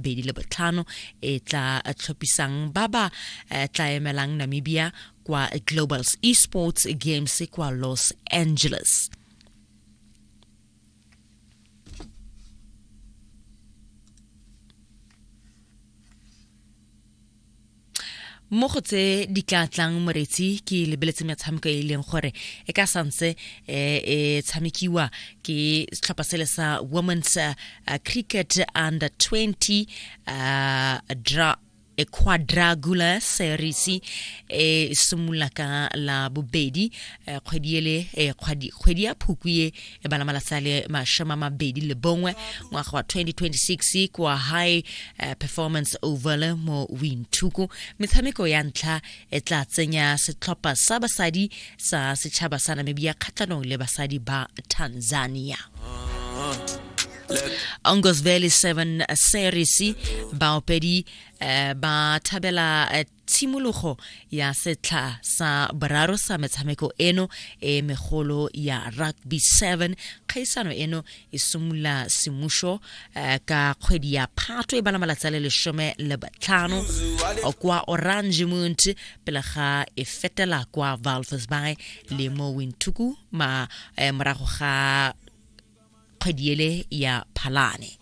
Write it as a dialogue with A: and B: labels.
A: 25 e tla tlhophisang ba ba eh, tla emelang Namibia kwa Global Esports Games kwa Los Angeles. Mo go tse di tla tlang, moretsi, ke lebeletse metshameko e e leng gore e ka santse e e tshamekiwa ke setlhopha sele sa Women's Cricket Under 20 dra e quadragular series e simolola ka la bobedi kgwedi ele, kgwedi ya Phukwi e bala malatsi a le 21 ngwaga wa 2026 kwa High Performance Oval mo Windhoek. Metshameko ya ntlha e tla tsenya setlhopha sa basadi sa setšhaba sa Namibia kgatlhanong le basadi ba Tanzania. Ongos Valley 7 Series, baopedi ba thabela tshimologo ya setlha sa boraro sa metshameko eno e megolo ya Rugby 7. Kgaisano eno e simolola semušo ka kgwedi ya Phato e bala malatsi a le 15 kwa Orangemont pele ga e fetela kwa Walvis Bay le mo Windhoek ma morago ga kgwedi ele ya Phalane.